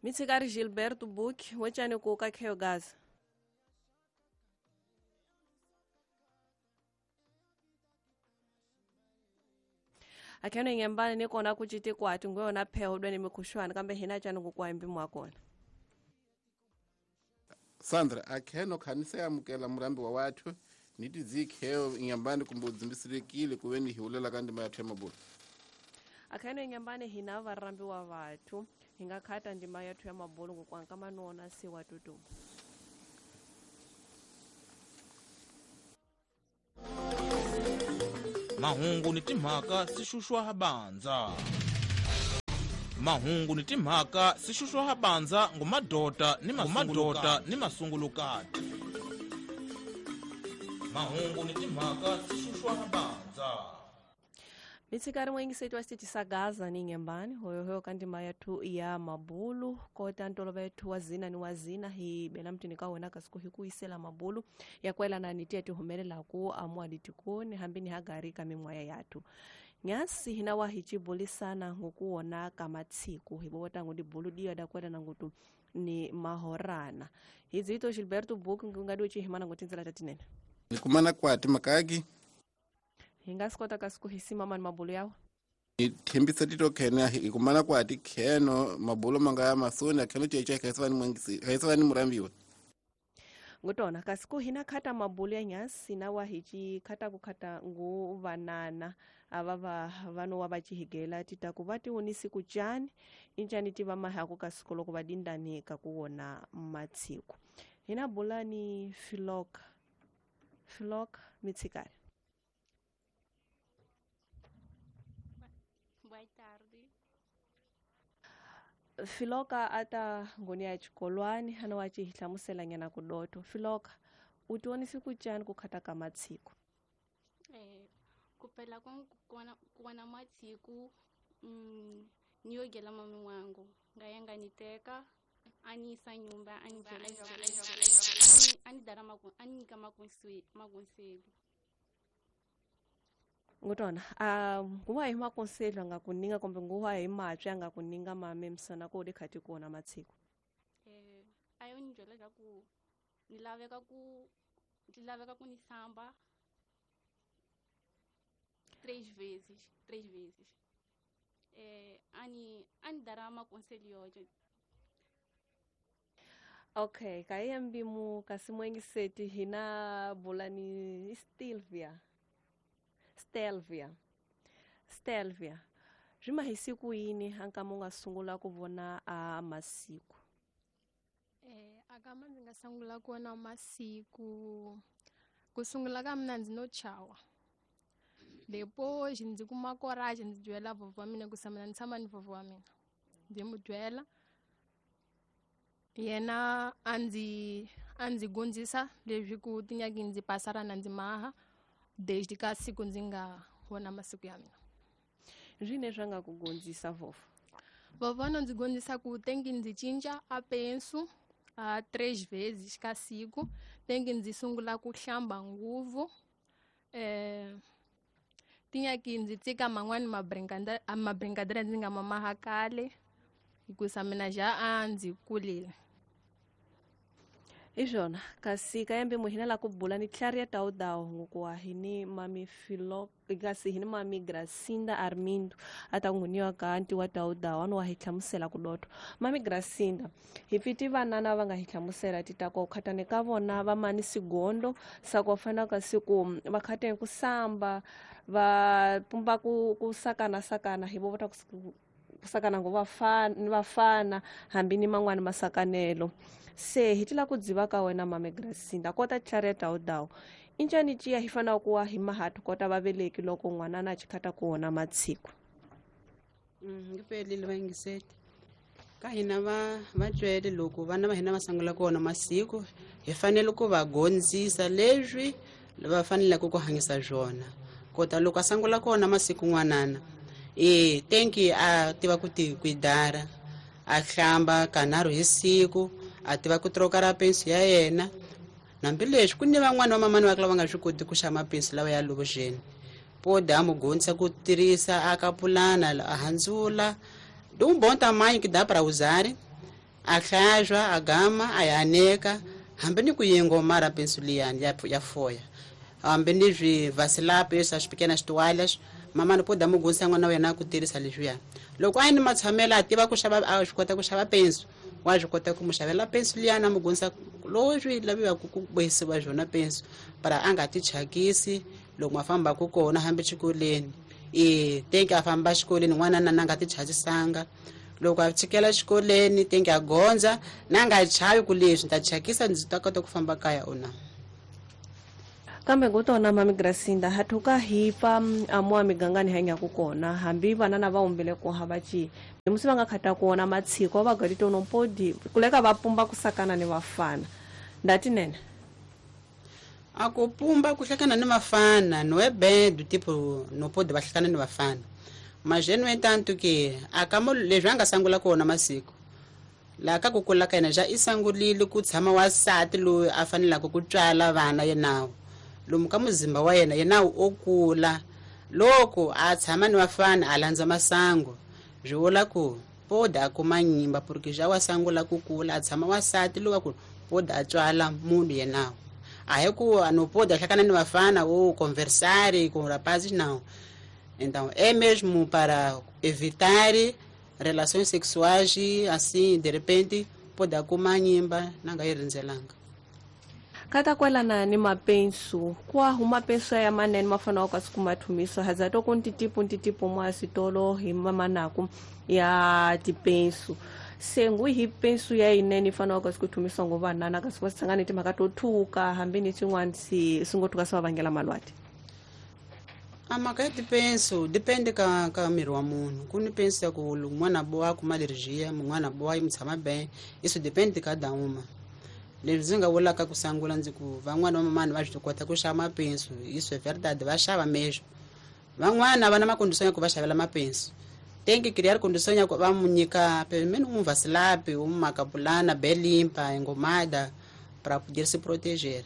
Mitshikari Gilberto Book wecani ku ka Kheo Gaza. Akheno ingembani ni kona ku citi kwati ngweyona pheho dweni mikhuxwani kambe hina cani ku kwambi mwa kona. Sandra akheno khanise amukela murambi wa wathu ni tidzikheo inyambani kumbe udzimbisirekile kuve ni hiulela ka ndima yathu ya mabulu. Akheno inyambani hina varambi wa vathu hi nga khata ndima yathu ya mabulu ngokwanka manona siwa tutumu. Mahungu ni timhaka sixuxwa habanza. Mahungu ni timhaka sixuxwa habanza ngumadota ni mamadota ni masungulukati. Mahungu ni timhaka sixuxwa habanza. Mitsikari mwengisetu wa xitichi sa Gaza ni ngembani hoyohoyo ka ndima yathu ya mabulu kota ntolova yethu wazina ni wazina hi bela mtini ka wena kasi ku hi ku yisela mabulu ya kwelana ni tiya ti humelelaku amuaditikoni hambi ni hagari ka min'waya yathu. Nyasi hina wa hi cibulisana ngokuwona ka matsiku hi vota ngo dibulu diya da kwelana ngutu ni mahorana. Hi dzito Gilberto Book nga do ci himana ngotindzela ta tinene. Ni kumana kwati makaki hi nga swi kota kasi ku hi simama ni mabulu yawa. Ni thembisa tito khene hi kumana kwati kheno mabulu manga ya masoni akheno cheche khaisava ni mwangisi khaisava ni murambiwa. Ngutona kasi ku hina khata mabulu ya nyasi na wa hi ci khata ku khata ngu vanana ava va vano wa va cihigela tita ku va tionisi ku cani incani ti va mahaku kasi ku loko va dindani ka ku wona matsiku. Hina bula ni Filoka Filoka mitsikari. Boa tarde. Filoka ata ngoni ya xikolwani ana wa ci hlamusela nyana ku doto. Filoka u tionisi ku cani ku khata ka matsiku. Ku pela ku wana matsiku ni yogela mami wangu nga yanga ni teka ani sa nyumba ani ani dara maku ani nyika makonseli. Ngutona nguwa hi makonseli nga kuninga kumbe nguwa hi matswi nga kuninga mame msana ko dikhati kuona matsiku. Ayo ni byela ku ni laveka ku ni samba 3 vezes 3 vezes. Ani dara makonseli yoje. Okay, kayembi mu kasi mwengiseti hina bulani Stelvia. Stelvia. Rima hi siku yini anka munga sungula ku vona a masiku? Akama ndzi nga sungula ku vona masiku ku sungula ka mina ndzi no chawa. Depois ndzi kuma courage ndzi byela vovho wa mina ku mina ndzi tshama ni vovho wa mina. Ndzi mu byela yena a ndzi gondzisa leswi ku tinyaki ndzi pasarana ndzi maha desde ka siku ndzi nga vona masiku ya mina. Zwine swa nga ku gondzisa vovho? Vovho no ndzi gondzisa ku tengi ndzi cinca a penso a 3 vezes ka siku, tengi ndzi sungula ku hlamba nguvu, tinyaki ndzi tsika man'wani mabrincadeira ndzi nga mamaha kale hikusa mina ja a ndzi kulile. Izvona kasi kayembe muhina la kubula ni Claria Taudao ngokuwa hini mami Filo kasi hini mami Gracinda Armindo atanguniwa kanti wa Taudao ano wa hihlamusela kudoto. Mami Gracinda hipiti vanana va nga hihlamusela titako khatane ka vona va mani sigondo sakofana kasi ku va khatene ku samba va pumba ku sakana sakana hi vota ku sakana ngo vafana hambi ni man'wani masakanelo. Se hi tila ku dziva ka wena mame Gracinda kota Claria Taudao injani ciya hi fanaka ku wa hi mahatu kota vaveleki loko n'wana na chikhata ku wona matsiku. Ngipelile vangiseti ka hina va vatswele loko vana va hina va sungula ku wona masiku hi fanele ku va gondzisa leswi va faneleke ku hanyisa swona. Kota loko a sungula ku wona masiku n'wanana tenki a tiva ku ti kuidara a hlamba kanharhu hi siku a tiva ku troka ra pensi ya yena. Hambileswi ku ni van'wani va mamani va lava nga swi koti ku xava mapensi lawa ya lovuxeni pode a mu gondzisa ku tirhisa a ka pulana a handzula um bom tamanho que dá para usar. A hlantswa, a gama, a ya aneka, hambi ni ku yengomara pensu liyani ya foya. Hambi ni swivhasilapi swa pequenas toalhas, mamani pode mu gondzisa n'wana wa yena ku tirhisa leswiya. Loko a yi ni matshamelo a tiva ku xava, a swi kota ku xava pensu, wa swi kota ku mu xavela pensu liyani, a mu gondzisa lowu swi laviwaka ku bohisiwa swona pensu, para a nga ti thyakisi loko ma fambaka kona hambi xikolweni. E tenki a famba xikolweni n'wana na nga ti thyakisanga. Loko a tshikela xikolweni tenki a gondza na nga chavi ku leswi ni ta thyakisa ndzi ta kota ku famba kaya o na. Kambe ngutona mami Gracinda hathuka hi pfa amuwa migangani hanyaku kona hambi vana na va humbile ku hava ci musi va nga khata kuona matshiko va gadito no podi kuleka va pumba kusakana ni vafana ndati nene a ku pumba ku hlekana ni vafana no é bem do tipo no pode va hlekana ni vafana mas no entanto que akamo leswi a nga sangula kona masiku laha ka ku kula ka yena ja i sangulile ku tshama wansati loyi a fanelaka ku tswala vana yenawo lomu ka muzimba wa yena yenawo o kula loko a tshama ni vafana a landza masangu swi vula ku pode a kuma nyimba porque ja wa sangula ku kula a tshama wansati loyi wa ku pode a tswala munhu yenawo a hi ku no pode a hlakana ni vafana ou conversar com rapazes não. Então é mesmo para evitar relações sexuais assim de repente pode kuma nyimba na nga yi rindzelanga. Kata kwelana ni mapensu kwa huma pensu ya manene mafana wa kasi kumathumiso hazato ku ntitipu ntitipu mwa switolo hi mamanaku ya tipensu se ngu hi pensu ya yinene ifana wa kasi kuthumiswa ngo vanana kasi va sangane timhaka to thuka hambi ni swin'wana swi ngo thuka swi va vangela malwati. A mhaka ya tipensu depende ka miri wa munhu ku ni pensu ya ku n'wana boha kuma alergia mun'wana boha yi mu tshama bem isso depende ka dauma. Leswi ndzi nga vulaka ku sangula ndzi ku van'wana va mamani va swi kota ku xava mapensu isso é verdade va xava mesmo van'wana va na macondição ya ku va xavela mapensu tem que criar condição ya ku va mu nyika pelo menos um vasilapi uma capulana bem limpa engomada para poder se proteger.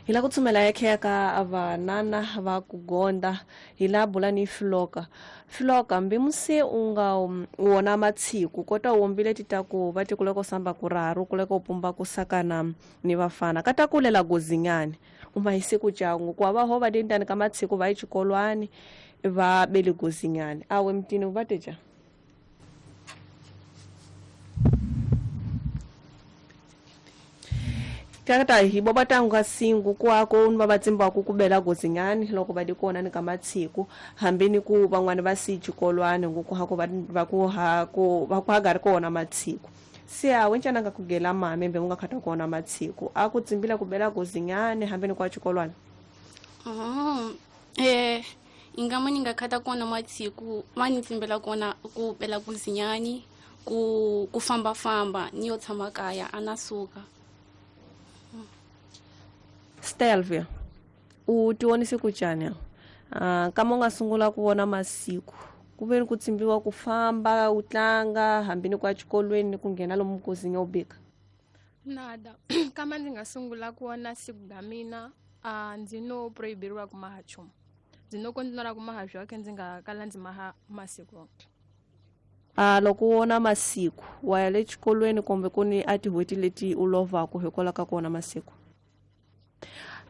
Hi la ku tsumela ya kheya ka vanana va ku gonda hi la bula ni Filoka. Filoka mbi musi u nga wona matshiku kota u wombile ti ta ku va ti kuleka u samba ku raru kuleka u pumba ku sakana ni vafana ka ta kulela gozinyani u ma hisi ku cangu ku va ho va dendani ka matshiku va yi xikolwani va bele gozinyani awe mtini va teja. Kata hi bo batanga singu kwako va vatsimba ku kubela gozinyani loko va dikona ni ka matshiku hambi ni ku van'wana va si xikolwani nguku ha ku va ku ha ku va ku ha ri kona matshiku se a wencana nga kugela mame mbe nga khata kona matshiku a ku tsimbila kubela gozinyani hambi ni kwa xikolwani. Ingama ni nga khata kona matshiku ma ni tsimbela kona ku bela gozinyani ku famba famba ni yo tshama kaya ana suka. Stelvia u tionise ku cani kama u nga sungula ku vona masiku ku ve ni ku tsimbiwa ku famba u tlanga hambi ni ku ya xikolweni ni ku nghena lomu kozinya u bika. Nada kama ndzi nga sungula ku vona siku ga mina ndzi no prohiberiwa ku maha nchumu ndzi no kontinura ku maha byoke ndzi nga kala ndzi maha masiku. Loko u vona masiku wa ya le xikolweni kumbe ku ni a tin'hweti leti u lovaka hikwalaho ka ku vona masiku.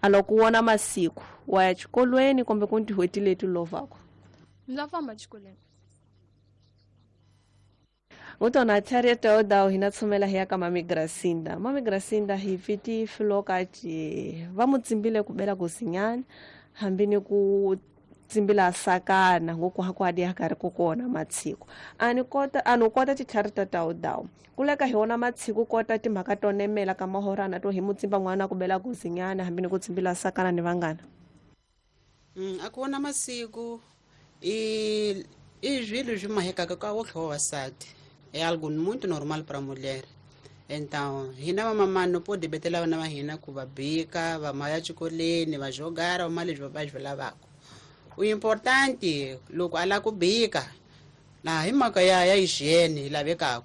Loko u vona masiku wa ya xikolweni kumbe ku ni tin'hweti leti u lovaka. Ndza famba xikolweni. Ngutona Harriet Odawu hina tsumela hi ya ka Mami Gracinda. Mami Gracinda hi pfiti Filoka ci va mu tsimbile ku bela gozinyani hambi ni ku tsimbila sakana ngoku ha ku adi ha karhi ku kona matshiku ani kota ani kota titlhari ta Tawudawu kuleka hi wona matshiku kota timhaka to nemela ka mahorana to hi mutsimba n'wana ku bela gozinyani hambi ni ku tsimbila sakana ni vanghana. A ku vona masiku i swilo swi mahekaka ka wo tlhova vasati é algo muito normal para mulher. Então hina vamamani no pode betela vana va hina ku va bika va maya xikolweni va jogara va ma leswi va swi lavaka. O importante loko a lava ku bika laha hi mhaka ya hygiene yi lavekaka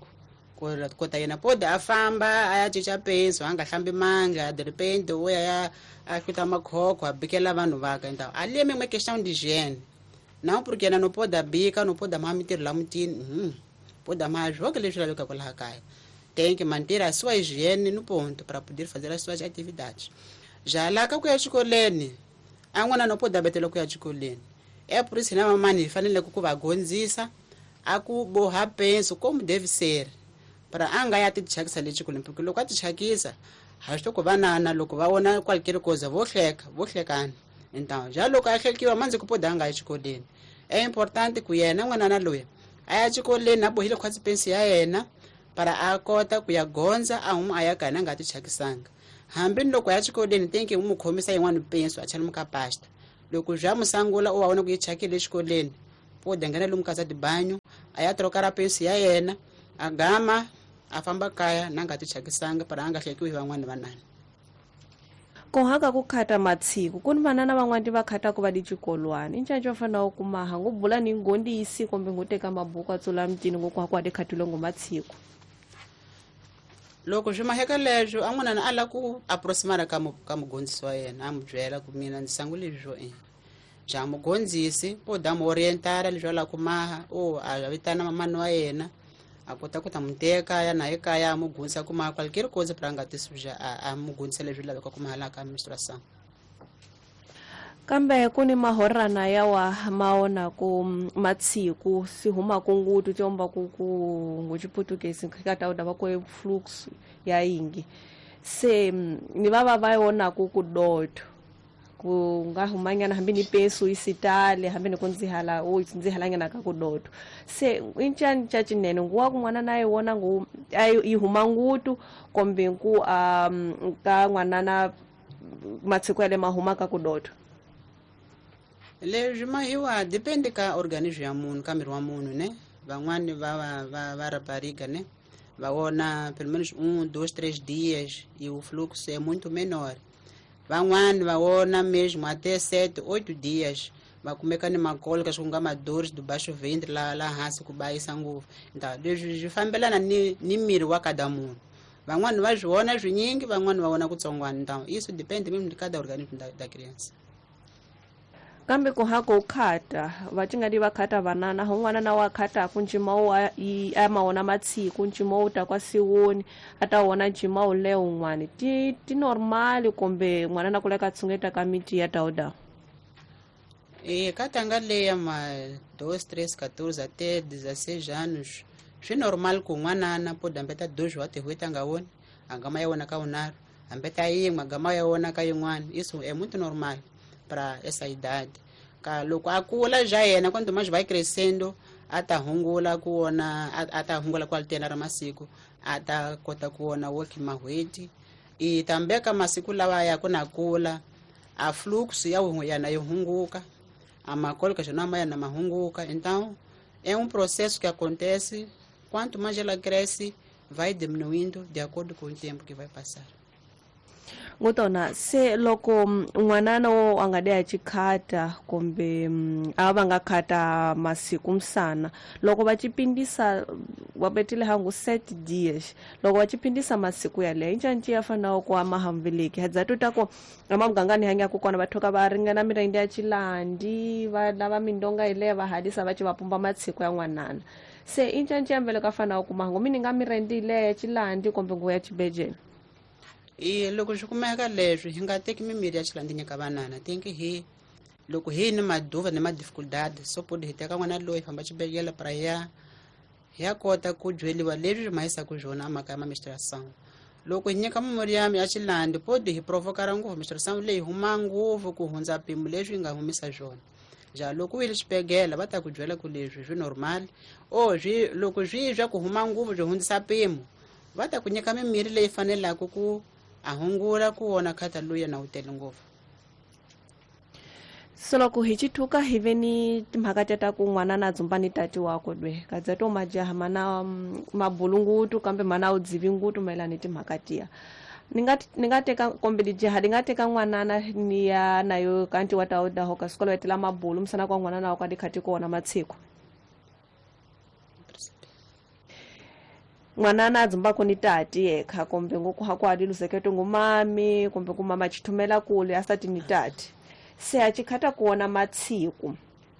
ku kota yena pode a famba a ya cinca penso a nga hlambi mandla de repente o ya a hluta makhokho a bikela vanhu vaka. Então ali é mesmo questão de higiene não porque yena no pode bika no pode maha mintirho la mutini. Pode mais jogo leswi lavekaka laha kaya. Tem que manter a sua higiene no ponto para poder fazer as suas atividades. Já lá ka ku ya xikolweni, a n'wana no pode betela ku ya xikolweni. É por isso na mamãe hi fanele ku va gondzisa a ku boha penso como deve ser, para a nga ya ti thyakisa le xikolweni, porque loko a ti thyakisa ha swi ku vanana loko va vona qualquer coisa vo hleka, vo hlekana. Então já loko a hlekiwa manzi ku pode a nga yi xikolweni. É importante ku yena n'wanana loyi a ya xikolweni a bohile khwatsi pensi ya yena para a kota ku ya gondza a huma a ya kaya a nga ti thyakisanga. Hambi ni loko a ya xikolweni tem que n'wi khomisa yin'wana penso a chela ka pasta. Loko bya musangula u va vona ku yi thyakile exikolweni, pode nghena lomu casa de banho a ya trocar a penso ya yena, a gama a famba kaya na nga ti thyakisanga para a nga hlekiwi hi van'wana vanana. Ku haka ku khata matshiku ku ni vanana van'wana va khataku va di xikolwani i ncanco va fanele ku maha ngo bula ni ngondisi kumbe ngo teka mabuku a tsula mutini ngo ku haku a di khatile ngo matshiku. Loko swi maheka leswo a n'wanana a lava ku aproximara ka mugondzisi wa yena, a n'wi byela ku mina ndzi sangule leswo ja mugondzisi pode a mu orientara leswi a lava ku maha, o a vitana mamani wa yena a kota ku ta n'wi teka ya na ekaya a mu gondzisa ku maha qualquer coisa para a nga ti suja, a mu gondzisa leswi lavekaka ku maha laha ka menstruação. Kambe ku ni mahorana yawa ma onaku matshiku si humaku ngutu tiomba ku ngo xiputukezi ka ta va ku flux ya yingi se ni va va va onaku ku doto ku nga humanyana hambi ni peso isitale hambi ni ku ndzihala u ndzihalanyana ka ku doto se i ncani ca cinene nguwa ku n'wana na yi wona ngu a yi huma ngutu kumbe ku ka n'wanana matshiku ya le ma huma ka ku doto. Leswi mahiwa depende ka organismo ya munhu, ka miri wa munhu ne. Van'wani va va va va rapariga ne, va vona pelo menos 1, 2, 3 dias e o fluxo é muito menor. Van'wani va vona mesmo até 7, 8 dias, va kumeka ni makolo ku nga madores do baixo ventre la hansi ku bayisa ngopfu. Então leswi swi fambelana ni miri wa kada munhu. Van'wani va swi vona swinyingi, van'wani va vona kutsongwana. Então isso depende mesmo de cada organismo da criança. Kambe ku haka u khata va tingadi va khata vanana hun'wana na wa khataku ncima wu a ma wona matshiku ncima wu ta kwa siwoni a ta wona ncima wu leyo un'wani ti normali kumbe n'wana na kula ka tshungeta ka miti ya dawudawu. E ka tanga leya ma 2, 3, 14 até 16 anos swi normal ku n'wanana pode hambeta 2 wa tin'hweti a nga voni, a gama ya vona ka vunharhu, hambeta yin'we a gama ya vona ka yin'wana. Isso é muito normal para essa idade. Ka loko a kula já yena, quanto mais vai crescendo a ta hungula ku vona, a ta hungula ku altena ra masiku, a ta kota ku vona woki mahweti. E também ka masiku lawa ya ku na kula a fluxo ya yana yi hunguka, a macólica já não yana mahunguka. Então é um processo que acontece, quanto mais ela cresce vai diminuindo de acordo com o tempo que vai passar. Ngutona se loko n'wanana wo a nga de a chikhata kumbe a va nga khata masiku msana loko va chipindisa va betile hangu 7 dias loko va chipindisa masiku yaleyo incanci ya fanayo ku ama hambiliki hadza tuta ku amamugangani hanya ku kona va thoka va ringana mirende ya chilandi va lava mindonga yileyo va halisa va ci va pumba matsiku ya n'wanana se incanci ya mbele ka fanayo ku mahangu mi ni nga mirende yileyo ya chilandi kumbe nguva ya chibejeni. E loko swi kumeka leswi hi nga teki mimirhi ya xilandi nyika vanana tinki hi loko hi ni maduva ni ma-dificuldade so podi hi teka n'wana loyi hi famba xibedhlele para hi ya kota ku byeliwa leswi swi mahisaka swona a mhaka ya ma-menstruation. Loko hi nyika mimirhi ya xilandi podi hi provokara ngopfu menstruation leyi huma ngopfu ku hundza mpimo leswi yi nga humisa swona. Ja loko u yile xibedhlele va ta ku byela ku leswi swi normal o swi loko swi swa ku huma ngopfu swi hundzisa mpimo va ta ku nyika mimirhi leyi fanelaka ku a hungula ku wona khata luya na wu tele ngopfu. So loko hi chithuka hi ve ni timhaka ta ku n'wana na dzumba ni tati wakwe dwe kadza to majaha mana mabulu ngutu kambe mana wu dzivi ngutu mayelana ni timhaka tiya ni nga teka kumbe lijaha li nga teka n'wanana ni ya nayo kanti wa ta daho ka sikolo etela mabulu msana kwa n'wanana wa ka dikhati kona matshiku n'wanana a dzumbako ni tati yekha kumbe ngoku hakwali luzeketo ngumami kumbe kumama chithumela kule asati ni tati se a chikhata kuona matsiku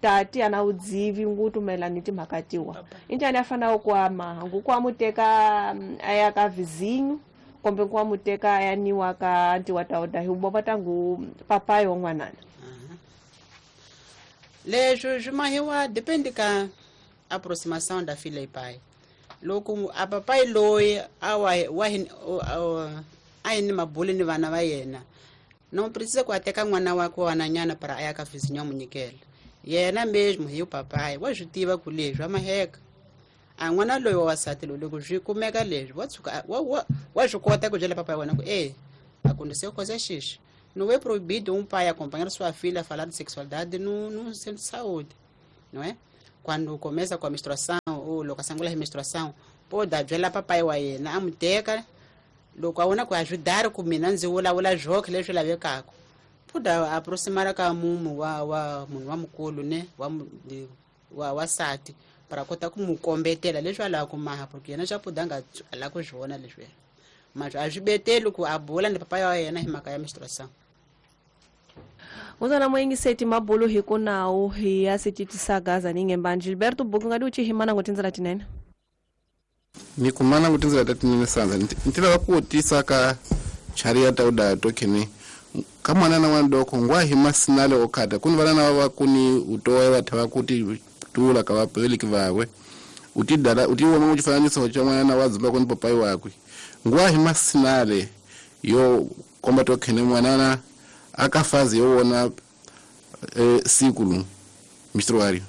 Tati ana udzivi ngutumela ni timhaka tiwa injani afana ku ama ngu kwamuteka aya ka vizinho kumbe kwamuteka aya niwa ka ntiwa tauda hi bo vatangu papai wa n'wanana. Leswi swi mahiwa depende ka aproximação da filha e pai. Loko a papai loyi a wa wa a yi ni mabulu ni vana va yena, não precisa ku a teka n'wana wakwe wa n'wananyana para a ya ka vizinho a mu nyikela. Yena mesmo hi papai wa swi tiva ku leswi wa maheka. A n'wana loyi wa wasati loyi loko swi kumeka leswi wa tshuka wa swi kota ku byela papai wa wena ku e aconteceu coisa X. Não é proibido um pai acompanhar sua filha a falar de sexualidade no centro de saúde, não é? Quando começa com a menstruação ou loko a sungula hi menstruação, pode byela papai wa yena a mu teka loko a vona ku ajudar ku mina ndzi vulavula zwoke leswi lavekaka. Pode aproximar ka mumu wa munhu wa mukulu ne wa wasati para kota ku mu kombetela leswi a lavaka ku maha, porque yena xa pode a nga la ku swi vona leswiya. Mas a swi beteli ku a bula ni papai wa yena hi mhaka ya menstruação. Muzana muyingiseti mabulu hi ku nawu hi ya sititisa gaza ningemba Gilberto Buku ngadi uchi himana ngutinzela tinene. Ni kumana ngutinzela tinene sanza ntila ku tisa ka charia tauda tokene kamwana na wandoko ngwa hima sinale okata kuni vana va kuni utoe vatava kuti tula ka vapeleki vawe utidala utiwona muchifananiso cha mwana wa dzimba kuni papai wakwe ngwa hima sinale yo komba tokene mwanana akafazi yowona sikulu menstruário.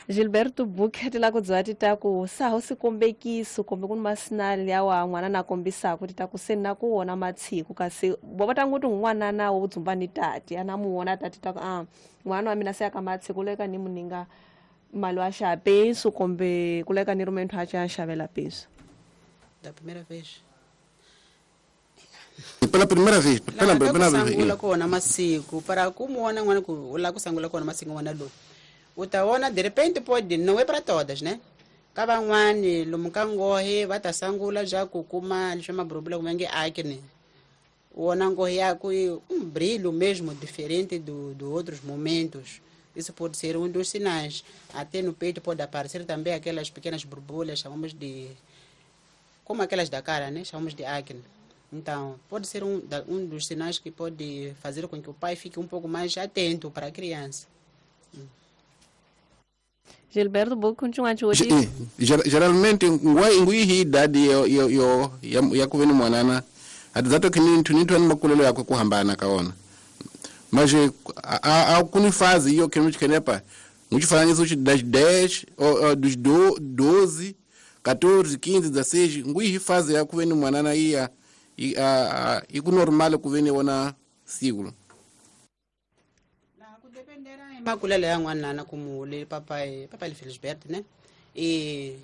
Gilberto Buque ti la ku byela ti ta ku saho sikombekiso kumbe ku ni masinali ya wa n'wana na kombisaka ti ta ku se na ku wona matshiku kasi bo va ta ngo ti n'wana na wo dzumba ni tati ana mu wona tati ta ku a n'wana wa mina se ya ka matshiku leka ni muninga mali wa xava penso kumbe ku leka ni rhume nthu a xa xavela penso. Da primeira vez. Pela primeira vez, pela primeira vez. Sangula kona masiku para kumuona n'wana ku la ku sangula kona masiku n'wana lowu. Utaona de repente pode, não é para todas, né? Ka van'wani lomu ka ngohe va ta sangula ja ku kuma leswi maburubula ku nge acne. Wona ngohe ya ku brilho mesmo diferente do outros momentos. Isso pode ser um dos sinais. Até no peito pode aparecer também aquelas pequenas borbulhas, chamamos de como aquelas da cara, né? Chamamos de acne. Então, pode ser um dos sinais que pode fazer com que o pai fique um pouco mais atento para a criança. Gilberto Buque continua te ouvir. Geralmente ngui idade yo ya kuveni mwanana atizato kini nthu ni makulelo yakwe kuhambana kaona. Mas a kuni fazi iyo kini chikenepa muchifananiso chi 10 ou dos 12 14 15 16 ngui fazi ya kuveni mwanana iya iku normal kuveni wona siglo. Makulelo ya n'wanana kumule papai papai Felisberto, né? E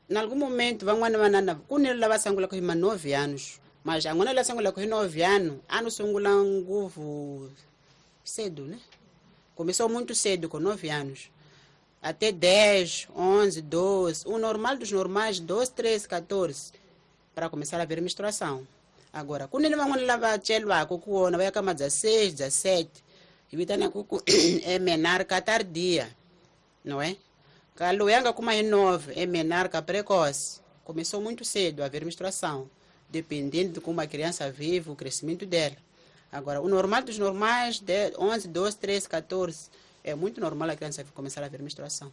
em algum momento van'wana vanana ku ni lava sungulaka hi ma 9 anos, mas a n'wana la sungulaka hi 9 anos, ano sungula nguvu cedo, né? Começou muito cedo com 9 anos. Até 10, 11, 12, o normal dos normais 12, 13, 14 para começar a ver menstruação. Agora, ku ni van'wana lava chelwaka ku wona va ya ka ma 16, 17 vitana ku é menarca tardia, não é? Kaluyanga kuma em 9 é menarca precoce. Começou muito cedo a haver menstruação, dependendo de como a criança vive, o crescimento dela. Agora, o normal dos normais, de 11, 12, 13, 14, é muito normal a criança começar a ver menstruação.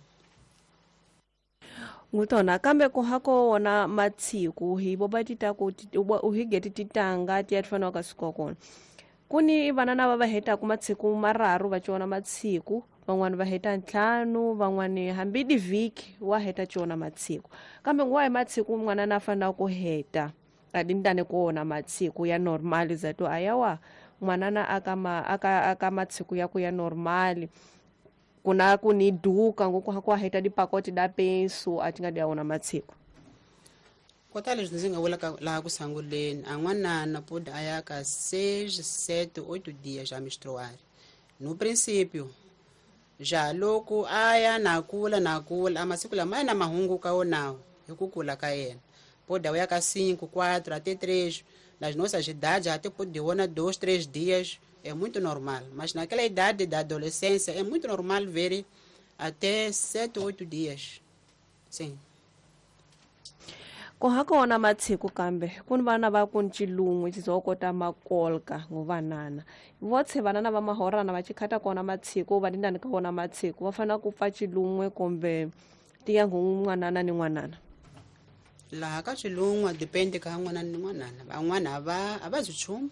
Ngutona kambe ku hako wona matsiku hi boba tita ku uhigeti titanga ti atfana ka sikokona. Kuni vanana va heta ku matsiku mararu va ciona matsiku van'wani va heta ntlhanu van'wani hambi divhiki wa heta ciona matsiku kambe nguwa hi matsiku n'wana na fanela ku heta adindane ku wona matsiku ya normal zato ayawa n'wanana aka matsiku ya ku ya normal kuna ku ni duka ngoku ha ku heta dipakoti da penso a ti nga dia wona matsiku. Kota leswi ndzi nga vulaka laha ku sunguleni a n'wanana pode a ya ka 6, 7, 8 dias já menstruar. No princípio, já loko a ya na kula a masiku lama ya na mahunguka wonawo hi ku kula ka yena. Pode a ya ka 5, 4 até 3, Nas nossas idades, até pode 1, 2, 3 dias, é muito normal. Mas naquela idade da adolescência, é muito normal ver até 7, 8 dias. Sim. Ku ha kona matshiku kambe ku ni vana va ku ni xilungu xizokota makolka ngovanana votshe vanana va mahorana va chikhata kona matshiku va ndani ka wona matshiku va fanele ku pfa xilun'we kumbe tiya n'wanana ni n'wanana. Laha ka xilungu depende ka n'wanana ni n'wanana, van'wana a va byi nchumu,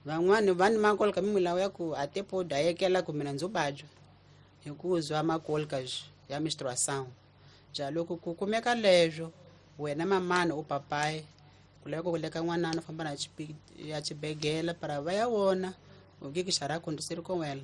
van'wana va ni makolka mimilawu ya ku a te po dayekela ku mina ndzo vabya hi ku zwa makolka ya menstruação. Ja loko ku kumeka leswo wena mamana u papai ku lava ku leka n'wanana u famba na ya xibegela para va ya vona u ke ki xara acontecer com ela.